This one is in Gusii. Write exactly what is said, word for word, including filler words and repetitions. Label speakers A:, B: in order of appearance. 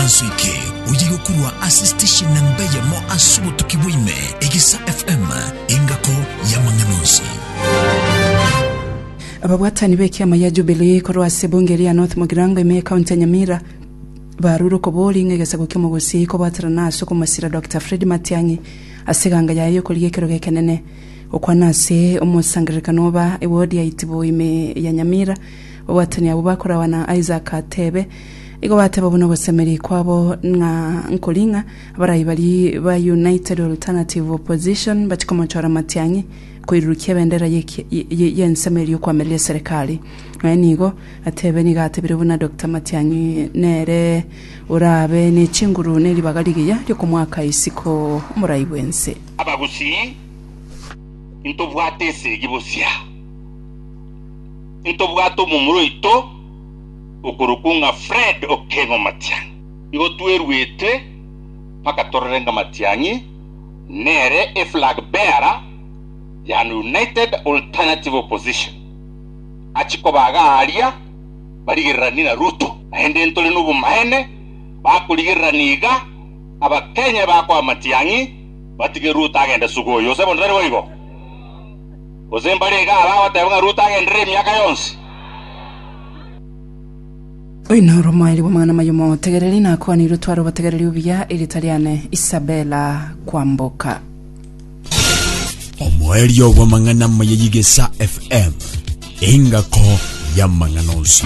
A: Ekaranso eke oye korwa ase station namba eyemo ase obotuki bwa ime, Egesa F M, engako y'amang'ana onsi.
B: Ababwatani b'ekiama ya Jubilee korwa ase bunge ria North Mugirango ime ekaunti ya Nyamira barure okobori ng'a egesago ki'omogusii kobwaterana ase okomosira Doctor Fred Matiang'i ase eganga yaye yokorigia ekerogo ekenene. Gokwana ase omosangererekano oba ewodi ya Itibo ime ya Nyamira, babwatani abwo bakorawa na Isaac Atebe igo bateba buna ogosemeri kwabo ng'a nkori ng'a abarai bari ba United Alternative Opposition bachikomochora Matiang'i koirurukia ebendera y'ensemo eria okwamereria serikali. Nonya nigo atebe nigo atebire buna Doctor Matiang'i nere orabe ne chinguru ne ribaga rigiya riokomwaka isiko omorai bwense.
C: Abagusii, intobwate esegi bosia, intobwate omomura oito okorokwa ng'a Fred Okengo Matiang'i. Igo twerwete mpaka torore ng'a Matiang'i nere eflag bearer ya United Alternative Opposition achikobaga aria barigererani na Ruto. Naende ntore nobomaene bakorigererani iga Abakenya bakoa Matiang'i batige Ruto agende sugoyo. Ose bono tari boigo, gose mbare iga abagoteba ng'a Ruto agenderere emiaka yonsi.
B: Oyo noro omoerio bw'amang'ana amaya omotegereri nakwanirwe tware obotegereri obuya. Erita riane Isabella Kwamboka.
A: Omoerio bw'amang'ana amaya y'Igesa F M, engako y'amang'ana onsi.